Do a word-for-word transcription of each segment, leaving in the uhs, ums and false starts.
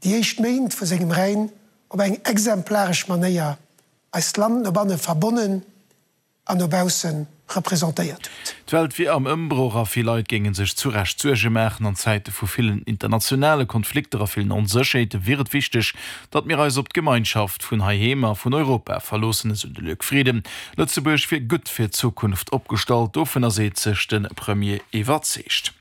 déi éischt Méint vu sengem Règne op eng exemplaresch Manéier eist Land no banne verbonnen an no bausse representéiert huet. D'Welt wier am Ëmbroch a vill Leit géinge sech zu Recht Suerge maachen. An Zäite vu villen internationale Konflikter a villen Onsécherheete wier et wichteg, datt mir eis op d'Gemeinschaft vun heiheem a vun Europa verloossen, esou de Luc Frieden. Lëtzebuerg wier gutt fir d'Zukunft opgestallt, dovunner seet sech de Premier iwwerzeegt.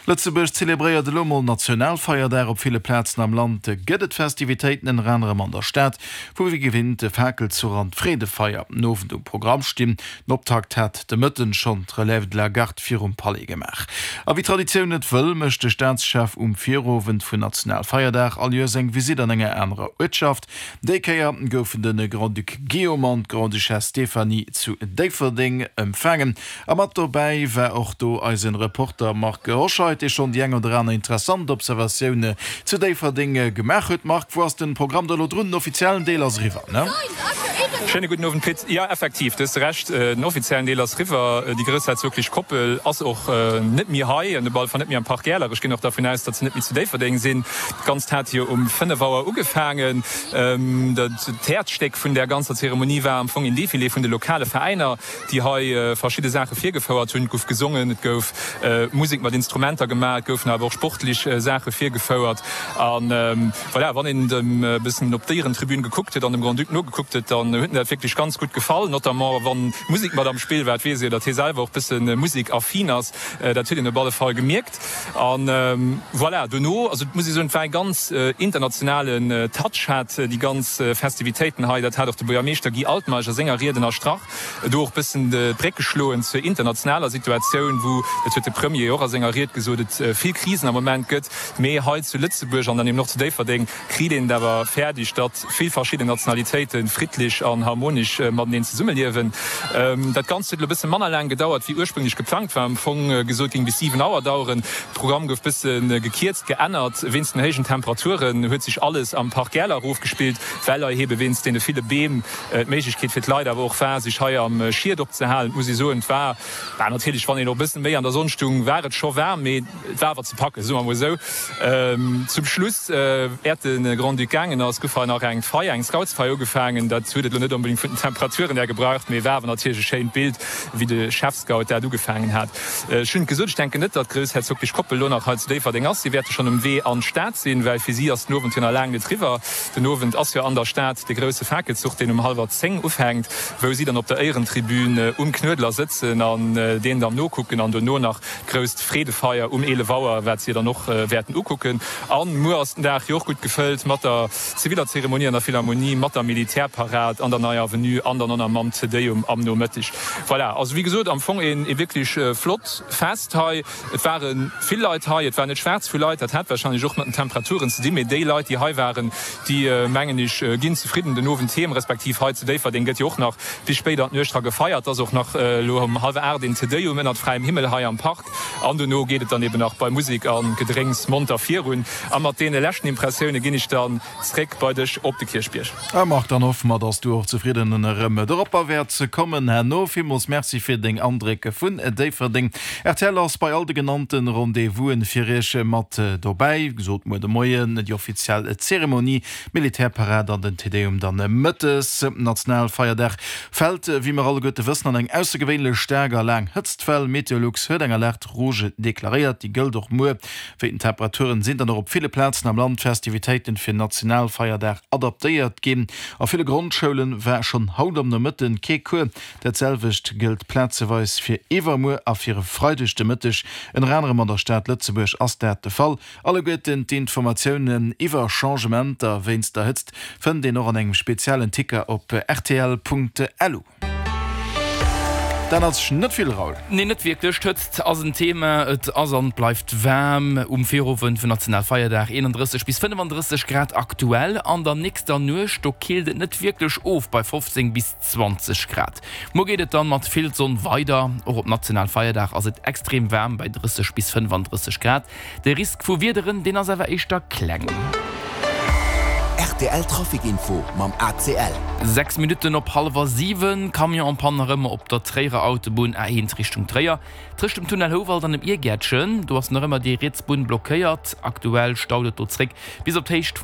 Lëtzebuerg zelebréiert elo mol Nationalfeierdag. Op ville Plazen am Land gëtt et Festivitéiten, ënner anerem an der Stad, wou wéi gewinnt de Fakelzuch an d'Freedefeier den Owend um Programm stinn. Den Optakt hat de Mëtten schonn d'Relève de la Garde virum Palais gemaach. A wéi d'Traditioun et wëll, mécht de Staatschef um Virowend vun Nationalfeierdag all Joers eng Visitt an enger anerer Uertschaft. Déi Kéier goufen de Grand-Duc Guillaume an d'Grande-Duchesse Stéphanie zu Déifferdeng empfaangen. A mat dobäi war och do eisen Reporter Marc Hoscheid, dee schonn déi eng oder aner interessant Observatioun zu Déifferdeng gemaach huet. Marc, wou ass den Programm da lo drun? Den offiziellen Deel ass eriwwer, ne? Schéine gudden Owend, Pit. Jo, effektiv, du hues Recht, den offiziellen Deel ass eriwwer. Déi groussherzoglech Koppel ass och net méi hei, op alle Fall net méi am Parc Äler. Ech ginn och dervun aus, datt se net méi zu Déifferdeng sinn. Dat Ganzt hat jo um fënnef Auer ugefaangen. D'Häerzstéck vun där ganzer Zeremonie war am Fong een Defilé vun de lokale Veräiner, déi hei verschidde Saache virgefouert hunn. Et gouf gesongen, et gouf Musek mat Instrumenter gemaach, et goufen awer och sportlech Saache virgefouert. A voilà, wann een dem e bëssen op d'Éierentribün gekuckt huet an dem Grand-Duc nogekuckt huet, dann huet en dat wierklech ganz gutt gefall, notamment wa Musek mat am Spill war. Et weess ee jo, datt hie selwer och bësse musekaffin ass. Dat huet een op alle Fall gemierkt. A voilà, dono, also et muss ee soen, et war e ganz internationalen Touch hat déi ganz Festivitéiten hei. Dat hat och de Buergermeeschter Guy Altmeisch a senger Ried ënnerstrach. Do och bëssen d'Bréck geschloen zur internationaler Situatioun, wou, dat huet de Premier och a senger Ried gesot, et vill Krisen am Moment gëtt. Mee hei zu Lëtzebuerg an dann eben och zu Déifferdeng kritt een et awer fäerdeg, datt vill verschidden Nationalitéite friddlech an harmonesch mateneen zesummeliewen. Dat Ganzt huet elo bësse manner laang gedauert, wéi ursprünglech geplangt war. Am Fong gesot géing bis siwen Auer daueren. De Programm gouf bësse gekierzt, geännert. Wéinst den héijen Temperaturen huet sech alles am Parc Äler erofgespillt, well hei ebe wéinst deene ville Beem d'Méiglechkeet fir d'Leit awer och war, sech hei am Schiet opzehalen. Et muss ee soen, et war natierlech, wann een och e bëssen méi an der Sonn stung, war et scho waarm, mee et war awer ze packen, soe mer emol esou. Zum Schluss, äert de Grand-Duc gaangen ass, gouf hei nach eng Feier, eng Scoutsfeier ugefaangen. Dat huet et elo net onbedéngt vun den Temperaturen här gebraucht, mee war awer natierlech e schéint Bild, wéi de Chefscout dat ugefaangen hat. Ech hunn et gesot, ech denken net, datt d'groussherzoglech Koppel elo nach hei zu Déifferdeng ass. Si wäerte schonn um Wee an d'Stad sinn, well fir si ass den Owend jo nach laang net riwwer. Den Owend ass jo an der Stad de grousse Fakelzuch, deen um hallwer zéng ufänkt, wou si dann op der Éierentribün um Knuedler sëtzen an deen dann nokucken an dono nach d'grousst Freedefeier um eelef Auer, wat si dann och wäerten ukucken. A muer ass den Dag jo och gutt gefëllt mat der ziviller Zeremonie an der Philharmonie, mat der Militärparad an der Neier Avenue an dann och nach mam Te Deum am Nomëtteg. Voilà, also wéi gesot, am Fong ee wierklech flott Fest hei. Et ware vill Leit hei, et war net schwaarz vu Leit, dat hat warscheinlech och mat den Temperaturen ze dinn, mee déi Leit, déi hei waren, déi, mengen ech, ginn zefridden den Owend heem, respektiv hei zu Déifferdeng gëtt jo och nach bis spéit an d'Nuecht dra gefeiert. Et ass och nach elo um hallwer aacht een Te Deum ënnert fräiem Himmel hei am Park an dono geet et dann eben nach bei Musek a Gedrénks monter virun. A mat deene leschten Impressioune ginn ech dann zréck bei dech op de Kierchbierg. A Marc, dann hoffe mer, dass du och zefridden erëm doropper wäerts kommen herno. Villmools Merci fir deng Andréck vun Déifferdeng. Rtl ass bei all de genannte Rendez-vousen fir iech mat dobäi. Wéi gesot, muer de Moien déi offiziell Zeremonie, d'Militärparad an den Te Deum dann mëttes. Nationalfeierdag fält, wéi mer alleguerte wëssen, an eng aussergewéinlech staark a laang Hëtztwell. Meteolux huet eng Alerte rouge deklaréiert, déi gëllt och muer. Wéi den Temperaturen sinn dann och op ville Plazen am Land d'Festivitéiten fir Nationalfeierdag adaptéiert ginn. A ville Grondschoule war schonn haut am Nomëtten kee Cours. Dat selwecht gëllt plazeweis fir iwwermuer a fir e Freideg de Mëtteg. Ënner anerem an der Stad Lëtzebuerg ass dat de Fall. Alleguerten d'Informatiounen iwwer Changementer wéinst der Hëtzt fënnt een och an engem speziellen Ticker op rtl.lu. Dat ass net vill, Raoul. Nee, net wierklech. D'Hëtzt ass en Thema. Et ass an bleift waarm um Virowend vun Nationalfeierdag, eenandrësseg bis fënnefandrësseg Grad aktuell. An der nächster Nuecht, do killt et net wierklech of bei fofzéng bis zwanzeg Grad. Muer geet et dann mat vill Sonn weider. Och op Nationalfeierdag ass et extrem waarm bei drësseg bis fënnefandrësseg Grad. De Risk vu Wiederen, deen ass awer éischter kleng. Rtl Trafic Info mam A C L. Sechs Minutten op hallwer siwen, Camion en panne nach ëmmer op der Tréierer Autobunn A eent Richtung Tréier, tëscht dem Tunnel Houwald an dem Iergäertchen. Do ass nach ëmmer déi riets Bunn blockéiert. Aktuell staut et do zréck bis op d'Héicht vum.